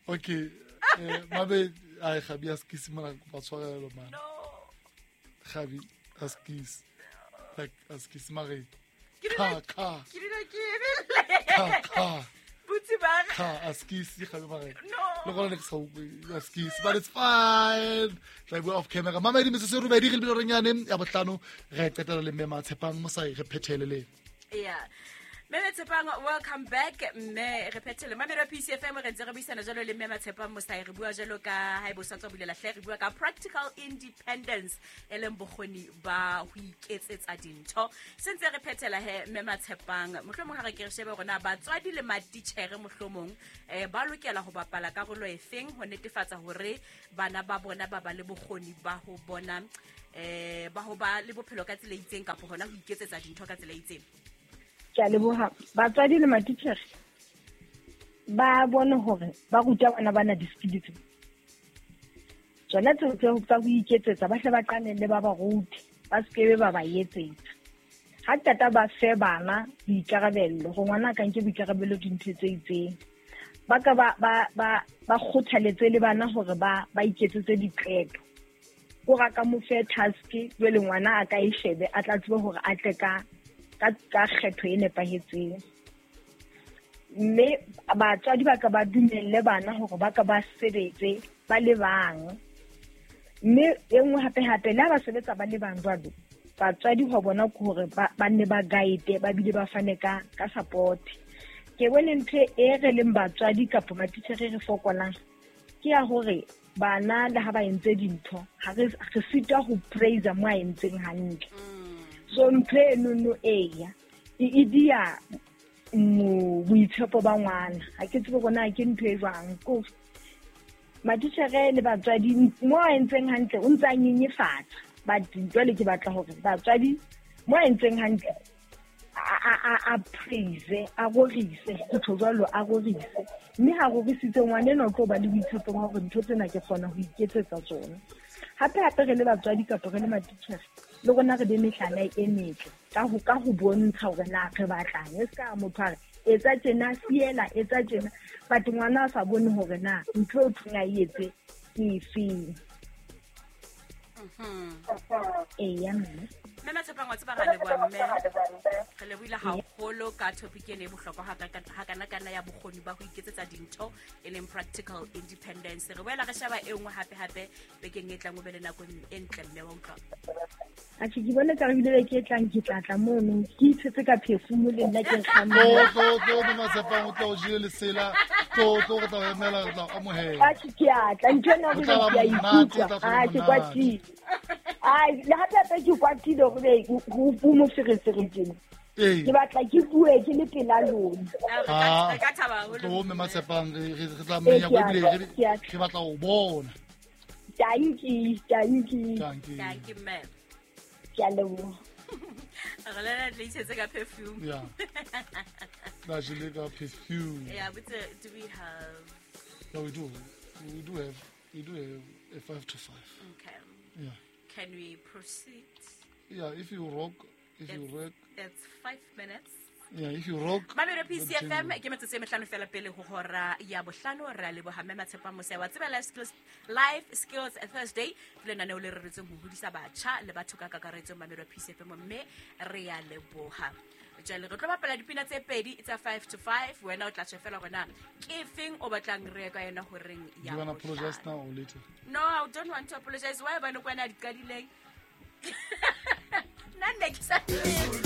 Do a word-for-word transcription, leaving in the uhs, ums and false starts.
Okay, eh, mabe ai Gabi askisi mara kopa tshwarelo man. No. Gabi askisi. Like askisi mare. Ke Ka dula ka ke dula ke ebelle. ka ka Botse ba re- ka askisi Gabi mare. No. Le gona ne ke sa utlwe askisi, but it's fine. Tla bua off camera. Mama di metsotso e robedi re lebile renyane ya bohlano re qetela le mme Matshepang Mosai re phethele le. Yeah. Mme Matshepang, welcome back. Mme re phethele. Mamelo P C F M re ntse re buisana jalo le mme Matshepang Mosai, re bua jalo ka ha e bo sa tswa bulela hle, re bua ka practical independence e leng bokgoni ba ho iketsetsa dintho. Se ntse re phethela he mme Matshepang, mohlomong ha re ke re shebe hore na batswadi le matitjhere mohlomong eh ba lokela ho bapala karolo efeng ho netefatsa hore bana ba bona ba ba le bokgoni ba ho bona eh ba ho ba le bophelo ka tsela e itseng kapa hona ho iketsetsa dintho ka tsela e itseng. Ke a leboha. Batswadi le matitjhere ba bone hore ba ruta bana bana di-skill tse. Tsona tseo tse tsa ho iketsetsa ba hle ba qale le ba ba rute, ba se ke be ba ba etsetsa. Ha qeta ba fe bana boikarabello, hore ngwana a ka nke boikarabello dintho tse itseng. Ba ka ba, ba, ba, ba kgothaletse le bana hore ba, ba iketsetse diqeto. Hore a ka mo fe task, jwale ngwana a ka e shebe, a tla tsebe hore a tle ka, ka, ka kgetho e nepahetseng. Mme batswadi ba ka ba dumelle bana hore ba ka ba sebetse ba le bang. Mme e nngwe hape hape, le ha ba sebetsa ba le bang jwalo, batswadi ho bona ke hore ba, ba nne ba guide, ba bile ba fane ka, ka support. Ke bone ntho e re leng batswadi kapa matitjhere re fokolang ke ya hore bana le ha ba entse dintho, ha re, re sitwa ho praise mo a entseng hantle. So ntho enono eya, e, e dia mo-, boitshepo ba ngwana. Ha ke tsebe hore na ke ntho e jwang. Ko matitjhere le batswadi mo a entseng hantle o ntse a nyenyefatsa. But jwale ke batla hore batswadi mo a entseng hantle a, a, a, a praise, a rorise, ke tjho jwalo, a rorise. Mme ha rorisitse ngwana enwa o tlo ba le boitshepo ba hore ntho tsena ke kgona ho iketsetsa tsona. Hape hape re le batswadi kapa re le matitjhere, le rona re be mehlala e metle ka ho, ka ho bontsha hore na re batlang. E ska motho a re etsa tjena, fiela, etsa tjena, but ngwana a sa bone hore na ntho eo thweng a e etse ke efeng. Mhm. Eya, mme. Mme Matshepang, wa tseba ra leboha mme. Re lebohile haholo ka topic ena e bohlokwa hakana-kana ya bokgoni ba ho iketsetsa dintho e leng practical independence. Re boela re sheba e nngwe hape-hape bekeng e tlang, o be le nako e ntle mme wa utlwa. Atjhe, ke bone ka re bile beke e tlang ke tla tla mono, ke itshetse ka perfume le nna ke nkga Tlo, moo. tlo, tlo, mme Matshepang, o tla o jele lesela. Tlo, tlo, re tla o emela, re tla o amohela. Atjhe, ke a tla, ntho ena O tla ba ke a monate, ikutlwa. o tla tla Atjhe, monate. kwatile. Ai, le hape hape ke kwatile hore be ho ho moferefere tjena. Ee. Ke batla ke bue ke le pela lona. Ah, re ka, Ah. re ka thaba haholo. Tlo, mme Matshepang, re, re, re tla Ee, menya ke a ebile tla, re, ke a tla. re batla ho bona. Dankie, dankie. Dankie. Dankie, mme. Ke a leboha. Re le na tla itshetse ka perfume. Yeah. Tla jele ka perfume. Yeah, but, uh, do we have? Yeah, we do. We do have. We do have a five to five. Okay. Yeah. Can we proceed? Yeah, if you rock, if you It's, rock. it's five minutes. Yeah, if you rock. Mamelo P C F M, then ke metsotso e mehlano fela pele ho hora ya bohlano. Re a leboha mme Matshepang Mosai wa tseba Life Skills, Life Skills Thursday ke lenaneo le reretsweng ho hodisa batjha le batho ka kakaretso. Mamelo P C F M, mme re a leboha. Jwale re tlo bapala dipina tse pedi tsa five to five. Wena o tla tjho fela hore na ke efeng o batlang re ye ka yona horeng ya Do you wanna apologize bohlano. now or later? No, I don't want to apologize. Why ba no kwana di qadileng? Nna nne ke sa tsebe.